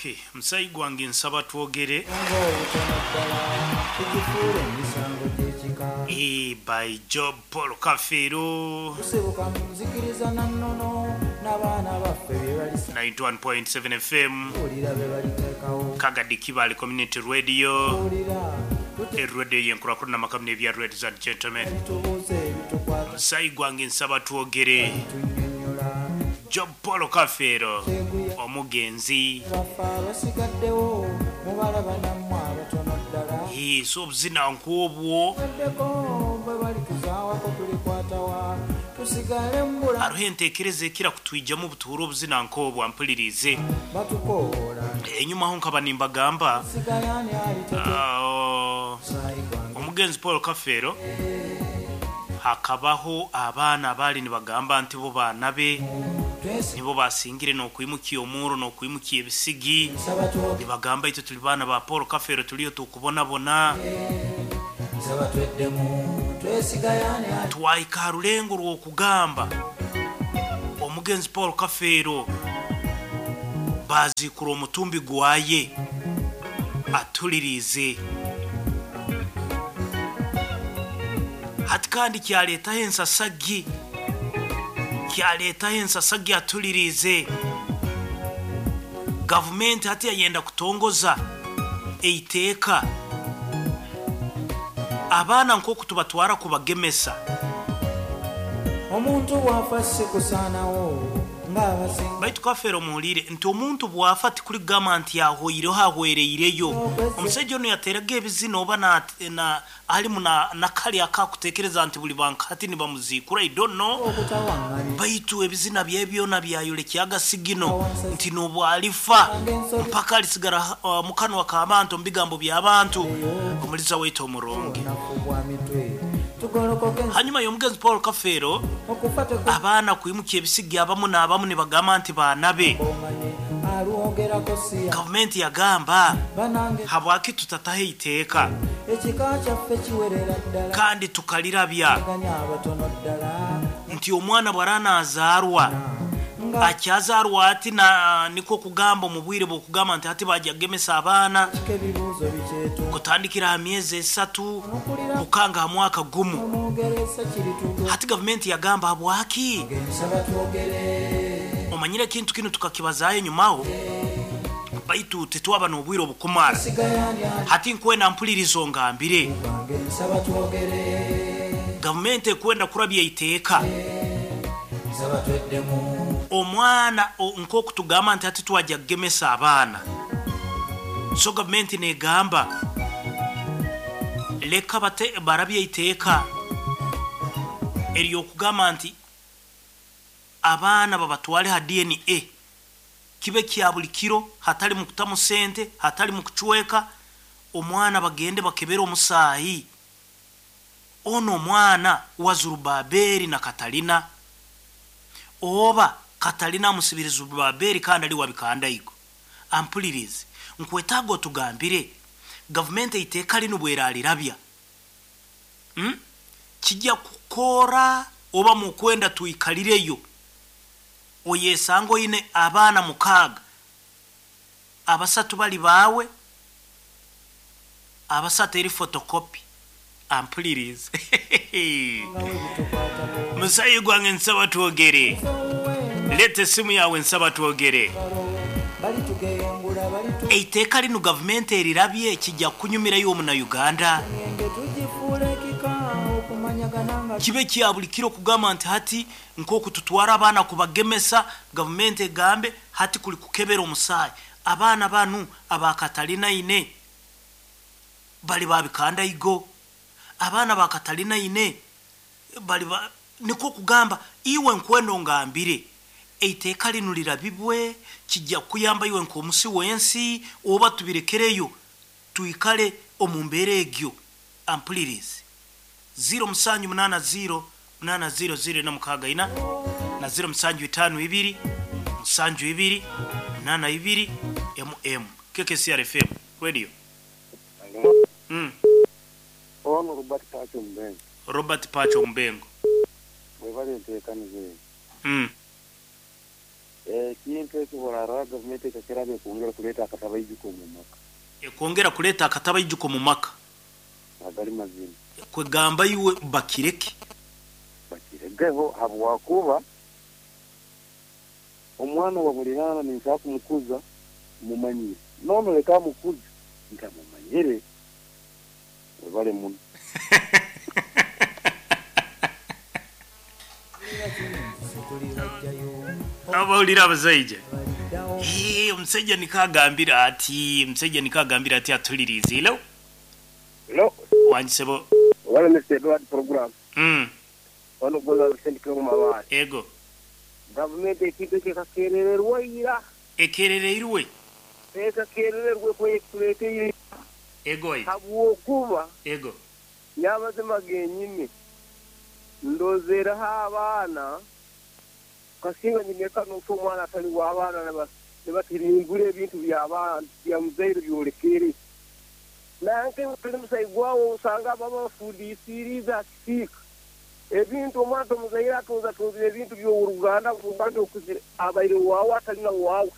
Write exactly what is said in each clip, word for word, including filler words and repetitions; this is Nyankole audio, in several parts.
Okay, musayi gwange nsaba twogere. Ng'obutono ddala tugifuule emisango gy'ekika. Eh, by Job Paul Kafeero. Tusibuka mu nzikiriza na nnono n'abaana baffe bye balisa ninety-one point seven F M. Wulira bye baliteekawo. Kagadi Kibale Community Radio. Wulira tute Eradio yenkurakurana makamune ebya, ladies and gentlemen. Bitubuuza ebitukwata. Musayi gwange nsaba twogere. Tunnyonnyola. Job Paul Kafeero. Kyeguya. Omugenzi. Baffe abasigaddewo mubalaba nammwe abatono ddala. Eh, so obuzina nk'obwo. Weddeko bwe balituzaawako tulikwatawa tusigale mu bulamu. Hariho enteekereza ekira kutwijamu obutuura obuzina nk'obwo ampulirize. Batukoola. Enyuma aho nkaba nimbagamba sigayani alitete ah, musaayi gwange. Omugenzi Paul Kafeero hakabaho abaana abaali nibagamba nti bo baana be twesi nibo basingire n'okwimukia omuuro n'okwimukia ebisigi. Nsaba twogere. Nibagamba itwe tuli baana ba Paul Kafeero, tuliyo tukubonabona. Nsaba tweddemu twesigayani ali Twahika ha rulengo rw'okugamba omugenzi Paul Kafeero baziikura omutumbi gwaye atulirize hati kandi kyaleetaho ensasagi, kyaleetaho ensasagi atulirize. Gavumenti hati yayenda kutongoza eiteeka abaana nk'oku tubatwara kubagemesa. Omuntu bw'afa si kusaanawo ng'abasinga. Baitu Kafeero muhulire nti omuntu bw'afa tikuligamba nti ahoireho ahwereireyo. Omusajja ono yateraga ebizina oba na, na, alimu na, nakali akakutekereza nti buli bankati nibamuziikura, I don't know. Okutawaŋŋanya. Baitu ebizina bye byona byayolekyaga sigino nti n'obw alifa mpaka alisigara uh, mukanwa k'abantu mu bigambo by'abantu omuliza waitu omurungi. Obunafu bwa mitwe tugolokoke. Hanyuma y'omugenzi Paul Kafeero okufa abaana kwimukia ebisigi abamu n'abamu nibagamba nti baana be. Tekumanye alwogerako siya. Gavumenti yagamba banange habwaki tutataho eiteeka ekika kyaffe kiwerera ddala kandi tukalirabya ganya abatono ddala nti omwana bw'aranaazaarwa nga akyazaarwa ati na niko kugamba omu bwire bwokugamba nti ati bajja kugemesa abaana kika ebibuuzo bikyetu kutandikira ha myezi esatu nokulira kukanga ha mwaka gumu. Omwogeresa kiritugo. Hati gavumenti yagamba habwaki nsaba twogere. Omanyire ekintu kino tukakibazaayo enyumaho baitu tetwaba n'obwire obukumara. Sigayani ali hati nkwenda mpulirizo ngambire. Gwange nsaba twogere. Gavumenti ekwenda kurabya iteeka nsaba tweddemu. Omwana o- nk'oku tugamba nti ati twajja kugemesa abaana, so gavumenti negamba leka bate barabye iteeka eryokugamba nti abaana babatwale ha D N A kibe kya buli kiro hatali mu kutamu sente, hatali mu kucweka omwana, bagende bakebere omusaayi ono omwana wa Zurubaberi na Katalina oba Katalina amusibire Zurubaberi kandi ali wabikandaigo. Ampulirize, nkwetaaga otugambire gavumenti eiteeka lino bweralirabya, hmm? Kijja kukora oba mukwenda tuikalireyo oyesanga oyine abaana mukaaga, abasatu bali baawe, abasatu eri photocopy. Ampulirize. Nga webitukwatako. Musayi gwange nsaba twogere. Leeta essimu yawe, nsaba twogere. Balitugeyengula balitu Eiteeka lino gavumenti erirabye kijja kunyumirayo omunauganda. Enge tugifuula ekika okumanyagana nga Kibe kya buli kiro kugamba nti hati nk'oku tutwara abaana kubagemesa, gavumenti egambe hati kuli kukebera omusaayi abaana banu abakatalina ine bali babikandaigo, abaana bakatalina ine bali ba... niko kugamba iwe nkwendo ngambire eiteeka lino lirabibwe kijja kuyamba iwe nk'omusi w'ensi oba tubirekereyo tuikale omu mbeera egyo. Ampulirize, zero musanju munana zero munana zero zero na mukaaga ina na zero musanju itaano ibiri musanju ibiri munana ibiri mm K K C R F M radio mm. Ono Robert Pacho Mbengo. Robert Pacho Mbengo. Webale enteekaniza eyo. mm. Ekintu ekyo borarora gavumenti ekakirabe kwongera kuleeta akatabaijiko omu maka. Ekwongera kuleeta akatabaijiko mu maka. Agali mazima. Kwegamba iwe bakireke. Bakiregeho habwakuba omwana wa bulirana ninshaka kumukuza mumanyire. Nono leka mukuze ntamumanyire. Webale muno. Abawulira abazaija. Eh, omusajja nikagambira ati, omusajja nikagambira ati atulirize. Hello? Hello. Wangisebo. Wala Mister Edward program. Mm. Wano goza sendike mu mabali. Ego. Gavumenti ekintu ekikakerererwa ira. Ekerereirwe. Ekakerererwe kwekuleteire. Ego. Habwokuba. Ego. Nyabazima genyine. Ndozeraho abaana kasinga nyineka n'ofu omwana atali w'abaana nibatirimbura ebintu by'abaana bya muzaire byolekere. Nanke tuli musayi gwawo osanga baba bafundisiriza akisiika. Ebintu omwana tomuzaire atunza tunzire ebintu by'oruganda buganda okuzire abaire waawe atali na waawe.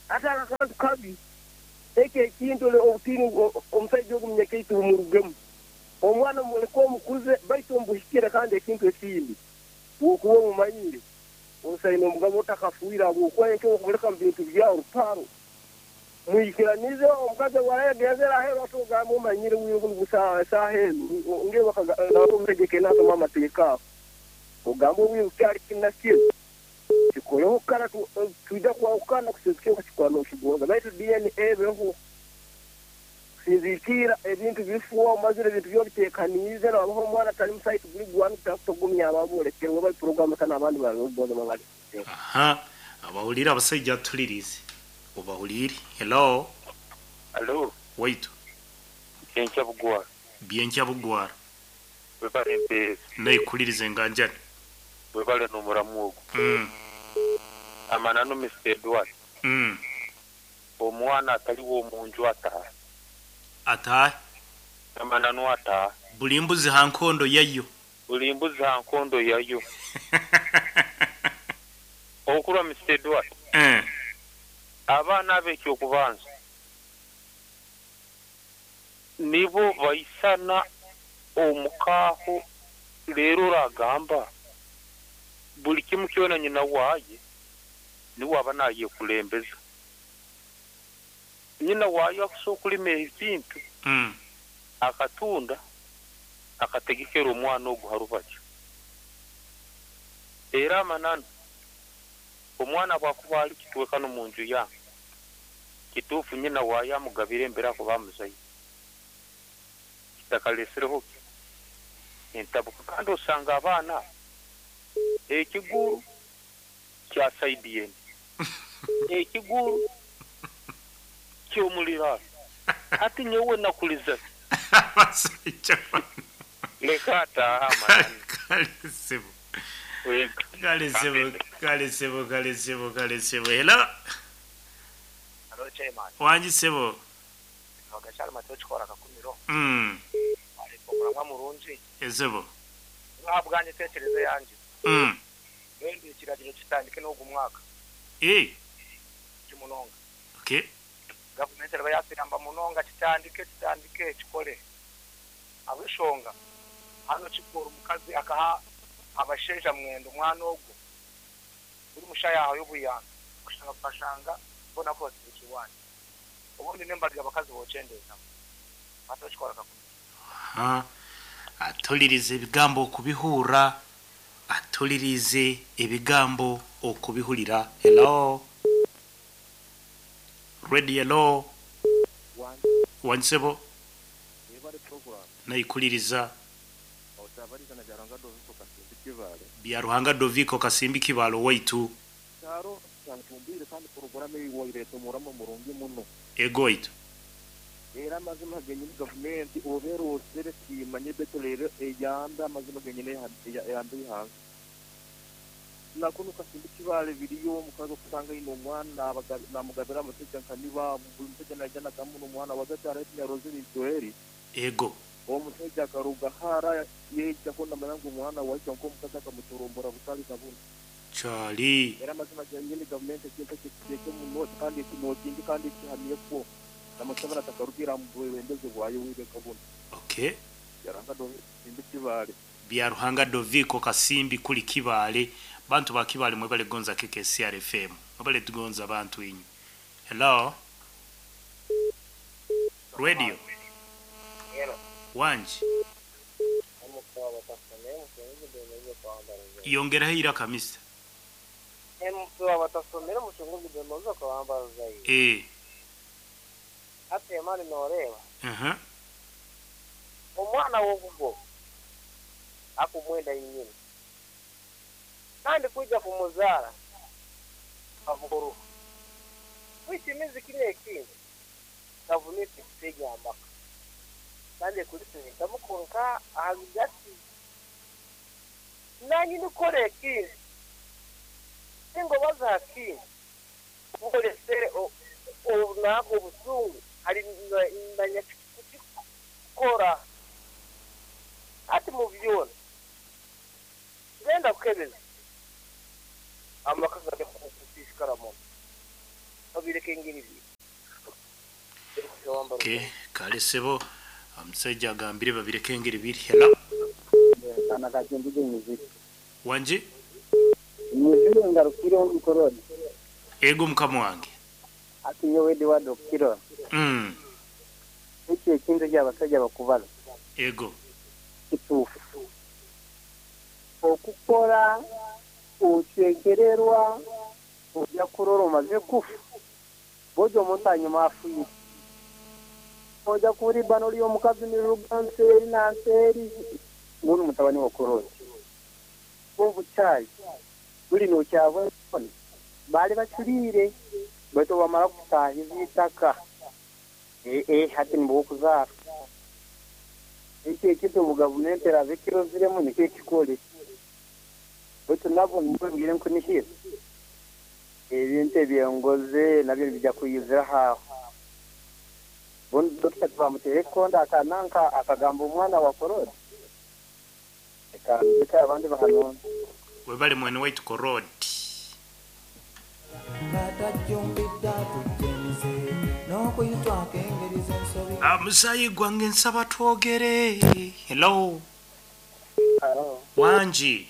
Ate akantu kabi ekyo ekintu obutiini omusajja ogu munyakaitu bumurugemu. Omwana muleke omukuze baitu omubuhikire kandi ekintu ekindi wokuba omumanyire osaine omugabo otakafuira habwokuba ekyo okumuleka mu bintu byawe rutaro mwikiranize omukazi warayagenzera aheru ate ogamba omanyire esaaha enu ngebamutegeke nasoma amateeka ago ogamba obwire kyali kinakiro kikoleho kara twija kwahukana kusinzikira okukikora nokigonza baitu D N A ebeho sinzikira ebintu bifuwa omazire ebintu byobitekaniize nabaho omwana atali musaitu guli gwanu kutagumya ababolekerwe bali programu kana abandi bali bali. Aha, abawulira abasajja atulirize. Obawulire. Hello. Hello. Wait. Byenkya bugwara. Byenkya bugwara. Webale mpeereza. Neekulirize nganjani. Webale n'omuramu ogwo. Mm. Amananu Mister Edward. Mm. Omwana ataliwo omunju ataha. Ataha. Amananu ataha. Buli mbuzi ha nkondo yayo. Buli mbuzi ha nkondo yayo. Okurwa Mister Edward. Eh. Abaana ab'ekyokubanza nibo baisana omukaho leero oragamba buli kimu kyona nyina waaye niwe aba nayekulembeza. Nyina waayo akusobola okulima ebintu mm. akatunda akategekera omwana ogu harubaju. Era amananu omwana bwakuba ali kitwekano mu nju yange kituufu nyina waayo amugabira embera kuba amuzaire kitakalesereho entabuka. Kandi osanga abaana ekiguru kya saidi ekiguru ky'omuliraano ati nyowe nakuliza leka ataaha amananu. Kale sebo, kale sebo, kale sebo, kale sebo. Hello. Hello chairman. Wanji sebo. Wagachali mateo chikora kakumiro. Mm. Alipokuramwa murungi. Ezebo. Nabuganye tekereza yanje. Mm. Wendi ekiragiro kitandike n'ogu mwaka. Eh. Kimunonga. Okay. Gavumenti eba yasiramba munonga kitandike kitandike kikole. Abishonga. Hano kikora omukazi akaha abasheja mwendo omwana ogwo buri mushaya yawe y'obuyambi kushanga kukashanga bona ko batsibikiwani obundi nembarya abakazi bocendeza batokikora kakumira. Ha, atulirize ebigambo okubihura, atulirize ebigambo okubihulira. Hello. Ready, hello. Wansebo. Naikuliriza. Bya Ruhanga Doviko Kasimbi Kibalo waitu. Ego waitu. Era amazima genyine gavumenti obera osere kimanye beto rero eyamba amazima genyine eyamba ihanga. Nakuno Kasimbi Kibale biriyo omukazi okusanga ino omwana namugabira amusajja nkaniba buli musajja najja nagamuno omwana wagakyara etinyaroze Joeli. Ego. Omusajja akaruga hara yejjako namanya ngu omwana waija nk'omukazi akamuturumbura butali kabuna. Kyali. Era amazima genyini gavumenti ekintu ekyo ekiteeke omu nooti kandi ekinootinge kandi ekihamyekwo. Namuseveni atakarugira mu bwebembezi bwayo wibeka buno. Okay. Yaranga Simbi Kibaale. Bya Ruhanga Doviko Kasimbi kuli Kibaale. Bantu ba Kibaale mwebale gonza K K C R F M. Mwebale tugonza bantu inyu. Hello. Radio. Hello. Wanji. Yongeraho iraka mister. Eh. Ate mali noreba. Mhm. Omwana wokugo akumwenda yinyini. Kandi kuja kumuzara avuguru. Kwitimizi kine ekindi. Kavunite kitege amaka. Kandi kulitsinda mukonka ahagati. Nanyi nikore ekindi. Singo bazaki. Ukolesere o nako busungu hari ndanya kukora ati mu byona genda kukebeza amaka gade kukushikara mu babireke ngiri bi. Okay, kale sebo amusajja agambire babireke ngiri biri. Hello. Kana kachindije muziki wanje muziki ngarukire on korona ego mukama wange ati nyowe di wado kiro mm iki ekintu ky'abasajja bakubala ego kituufu okukora okyekererwa ojja kurora omaze kufa bojo omuntu anyuma afuye ojja kuribano ly'omukazi niruga nseeri na nseeri ngunu mutabani wa korona obukyayi buli nokyabona baali bacuriire baitu bamara kutahiza itaka eh eh hati nibokuzaara iki ekintu omu gavumenti erabe kiroziremu nikyo ekikole baitu nabo nibabwire nkunihira ebintu ebyengoze nabyo nibijja kuyizira haho bondi dokita bamutere konda akananka akagamba omwana wa korona eka abandi bahanona webale mwene waitu korodi amusayi gwange nsaba twogere. Hello. Hello. Wanji.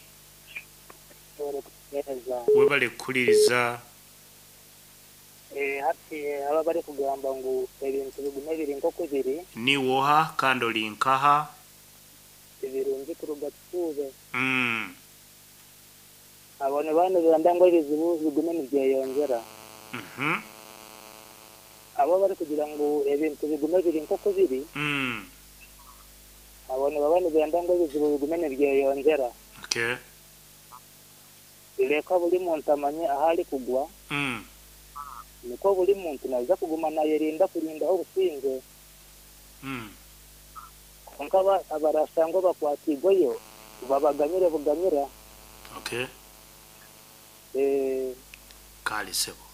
Webale kukuliriza. Eh hati aba bari kugamba ngu ebintu bigume biri nk'oku biri. Ni woha kandi oli nkaha. Ebirungi kuruga tuube. Mm. Abone bano banda ngo ebizibu bigume nibyeyongera. Mhm. Abo bari kugira ngo ebintu bigume biri nk'oku biri. Mm. Abone babane banda ngo ebizibu bigume nibyeyongera. Okay. Leka buli muntu amanye ahali kugwa. Mm. Niko buli muntu naza kuguma nayerinda kurinda obusinge. Mm. Konka abarasangwa bakwatigweyo babaganyire buganyira. Okay. Eh kale sebo.